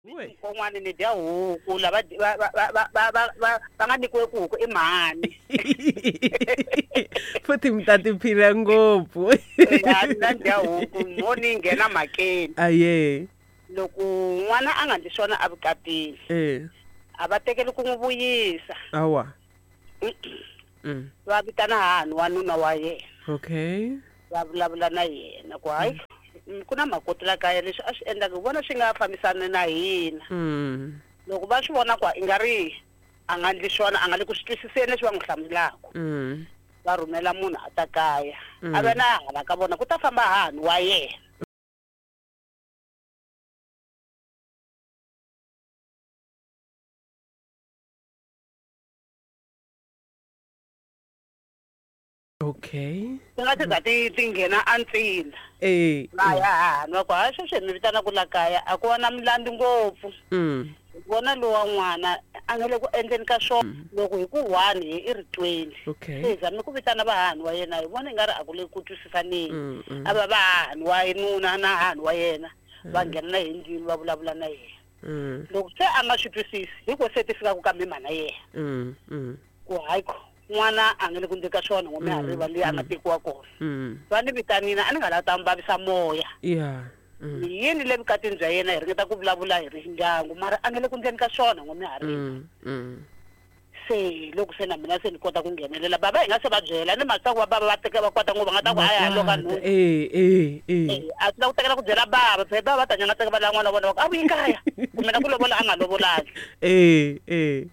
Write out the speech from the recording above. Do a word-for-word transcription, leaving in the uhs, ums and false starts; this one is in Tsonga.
We. Kon'wani ni dya huku lava va va va va va va va va nga nyikiwe ku huku i mhani. Futhi mi ta tiphina ngopfu. Ya mina ni dya huku mo ni nghena mhakeni. Aye. Loko n'wana a nga ndli swona evukatini Eh. a va tekeli ku n'wi vuyisa. Awa. Mm. Va vitana hahani wa nuna wa yena. Okay. Va vulavula na yena ku hayi ku na makoti la kaya leswi a swi endlaka hi vona swi nga fambisani na hina. Mm. Loko va swi vona ku i nga ri a nga ndli swona a nga le ku swi twisiseni leswi va n'wi hlamulaka. Mm. Va rhumela munhu a ta kaya. Mm. A va na hala ka vona ku ta famba hahani wa yena. Okay. Ti nga ti za ti ti nghena antsila. Eh. Va ya hahani va ku hayi sweswi hi mi vitana ku la kaya a ku va na milandzu ngopfu. Mm. Hi vona lowa n'wana a nga le ku endleni ka swona loko hi ku one hi i ri twenty. Okay. Se hi zame ku vitana vahahani wa yena hi vona i nga ri a ku le ku twisisaneni. Mm, mm. A va vahahani wa nuna na hahani wa yena va nghena na hi ndlwini va vulavula na yena. Mm. Loko se a nga swi twisisi hi ko se ti fikaka ka mimana yena. Mm. Mm. Ku hayi ko n'wana a nga le ku ndleni ka swona n'we mihariva leyi a nga tekiwa kona. Mm. Va ni vitanile a ni nga lava ta mi vavisa moya. Yeah. Mm. Yini le vukatini bya yena hi ringeta ku vulavula hi ri ndyangu mara a nga le ku ndleni ka swona n'we mihariva. Mm. Mm. Se loko se na mina se ni kota ku nghenelela baba hi nga se va byela ni mhaka ku va baba va teka va kwata ngopfu va nga ta ku hayi hayi loko a nhundzu. Eh eh eh. Eh, a swi la ku tekela ku byela baba phela baba va ta nyangateka va lava n'wana wa vona va ku a vuyi kaya kumbe na ku lovola a nga lovolangi. Eh eh.